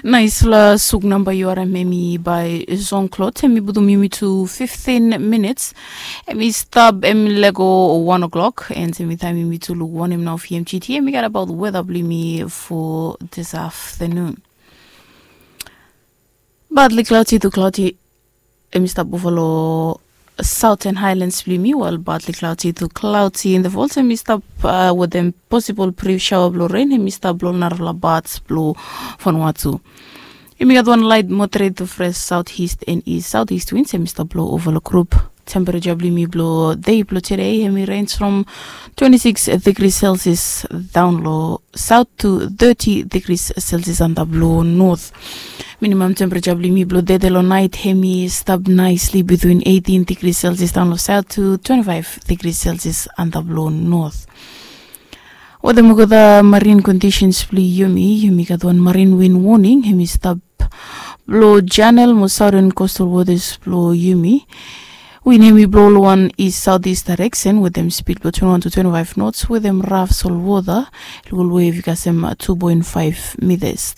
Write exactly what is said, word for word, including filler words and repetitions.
Naispela suk namba yu harim em i bai Jean Claude, em i putum yumi tu fiftin minits. Em i stap em i lego wan o'clock, and em i taim yumi tu luk wanem nao fi em gta em i gat abaut weda blong yumi fo dis aftanun. Badli klauti tu klauti, em i stap ova long Southern Highlands blong yumi, wel badli klauti tu klauti in the falls em i stap wetem posibol brief shaoa blong ren em i stap long narafala bats blong Vanuatu. Em i gat wan lait moderet tu fres south east and east south east winds em i stap blong ova long grup. Tempereja blong yumi blong dei blong tude em i rens from twenty six degri celsius daun long south tu thirty degri celsius antap long north. Minimam tempereja blong yumi blong dede long nait em i stap naisli bitwin eighteen degri celsius daun long south tu twenty five degri celsius antap long north. Wetem olgeta marin kondisens blong yumi, yumi gat wan marin win woning em i stap blong janel mo sauden kostal wotas blong yumi. Win em i blong long wan is saut is daereksen wetem spid blong twenty wan tu twenty five nots wetem raf solwota, long ol wev i kasem tu poen five mitas.